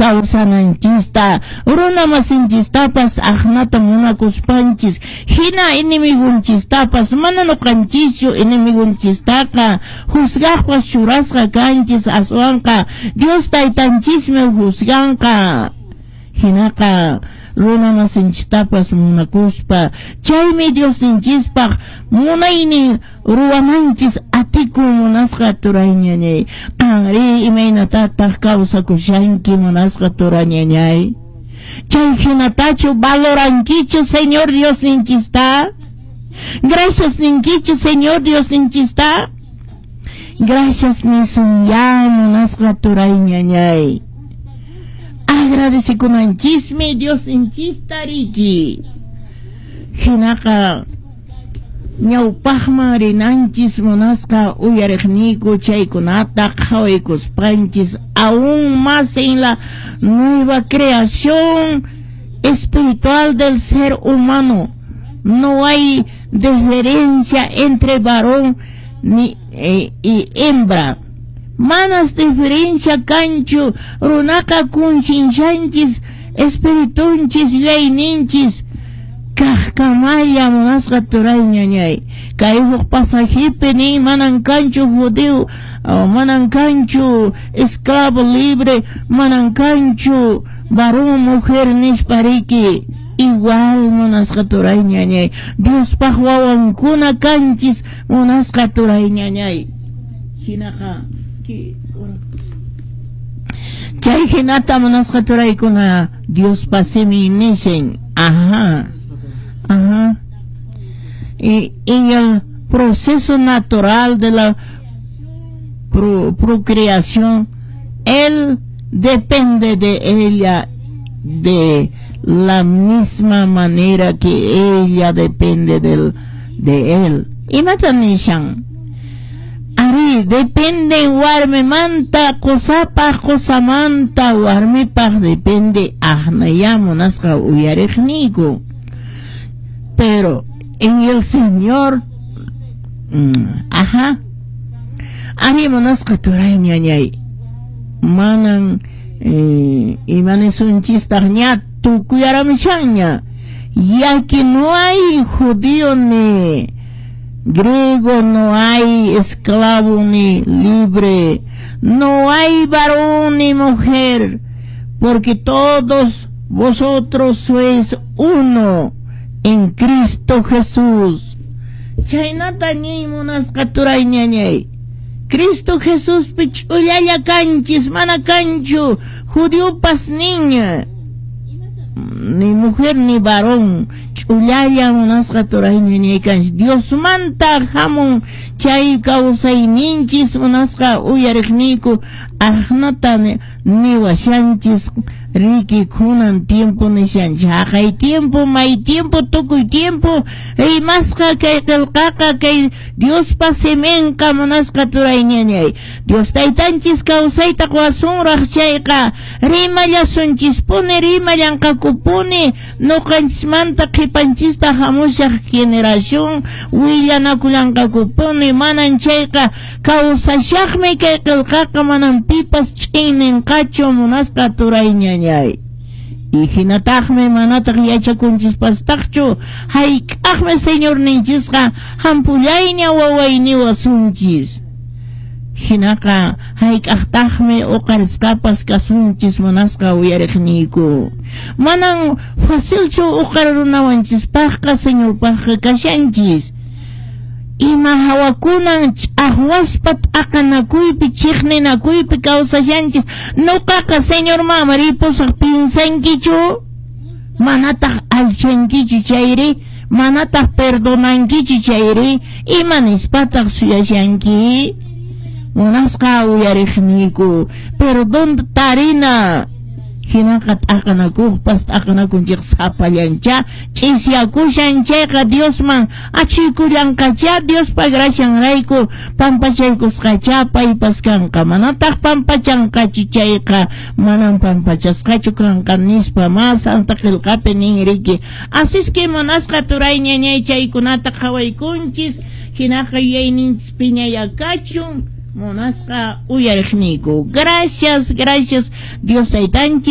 kawsananchista, runa masinchistapas aqnata munakuspanchis, hina enemigunchistapas mana nuqanchischu enemigunchistaqa juzgaqpas churasqa kanchis, aswanqa Dios taytanchismi juzganqa. Hinaqa runa masinchistapas munakuspa, chaymi Diosninchispaq munaynin ruwananchis atikun munasqa turayñañay. Qanri imaynatataq kawsakushanki munasqa turañañay? Chay hinatachu valorankichu Señor Diosninchista? Gracias ninkichu Señor Diosninchista? Gracias nisun ya munasqa turayñañay. Agradecikunanchismi Diosninchista riki. Hinaqa ñawpaqman rinanchis munasqa uyariqniyku chaykunata qhawaykuspanchis aún más en la nueva creación espiritual del ser humano. No hay diferencia entre varón ni y hembra. Manas diferencia kanchu runaqa kunshinshanchis espiritunchis yuyayninchis kaqkamalla munasqa turayñañay. Kay huk pasajepi nin manan kanchu judío, manan kanchu esclavo libre, manan kanchu varón mujer nispa riki. Igual munasqa turayñañay. Diospaq wawankuna kanchis munasqa turayñañay. Hinaqa chay hinata munasqa turaykuna Diospa simin nishin. Ajá. Ajá. Y en el proceso natural de la procreación, él depende de ella de la misma manera que ella depende de él. Imata nishan? Ari, depende warmimanta, qusapaq, qusamanta, warmipaq depende aqnaya munasqa uyariqniyku. Pero en el Señor, ajá, ari munasqa turay ñañay, manan imanisunchistaq ña tukuyaramishanña, ya que no hay judío ni griego, no hay esclavo ni libre, no hay varón ni mujer, porque todos vosotros sois uno en Cristo Jesús. Chaynata ñiy munasqa turay ñañay. Cristo Jesús ch'ullalla kanchis, mana kanchu judiopas niña, ni mujer ni varón, ch'ullalla munasqa turay ñañay kanchis. Diosmanta hamun chay kawsayninchis munasqa uyariqniyku aqnata niwashanchis riki kunan tiempo nishanchis haqay tiempo may tiempo tukuy tiempo rimasqa kay qillqaqa kay Diospa siminqa munasqa turay ñañay. Dios taytanchis kawsayta quwasunraq chayqa rimallasunchispuni rimallanqakupuni nuqanchismanta qhipanchista hamushaq generación willanakullanqakupuni manan chayqa kawsashaqmi kay qillqaqa manan pipas ch'inninqachu munasqa turay ñañay. Y hinataqmi manataq yachakunchispastaqchu hayk'aqmi Señorninchisqa hampullayña wawayniwasunchis. Hinaqa hayk'aqtaqmi uqarisqapas kasunchis munasqa uyariqniyku. Manan facilchu uqarirunawanchispaqqa Señorpaqqa kashanchis. Ima hawakunan ch'aqwaspa t'aqanakuypi chiqninakuypi kawsashanchis. Nuqaqa Señorman ripusaq pinsankichu? Manataq alchankichu chayri? Manataq perdonankichu chayri? Ima nispataq suyashanki? Munasqa uyariqniyku perdón tarina. Hinaqa t'aqanakuqpas t'aqanakunchik sapallancha ch'isyakushan chayqa Diosman achuykullanqacha Diospa gracianrayku pampachaykusqacha paypas kanqa manataq pampachanqachu chayqa manan pampachasqachu kanqa nispa ma Santa Qillqapi nin riki. Así es que munasqa turay ñañay chaykunata qhawaykunchis hinaqa yuyayninchis piñayakachun munasqa uyariqniyku. Gracias, gracias Dios taytanchis.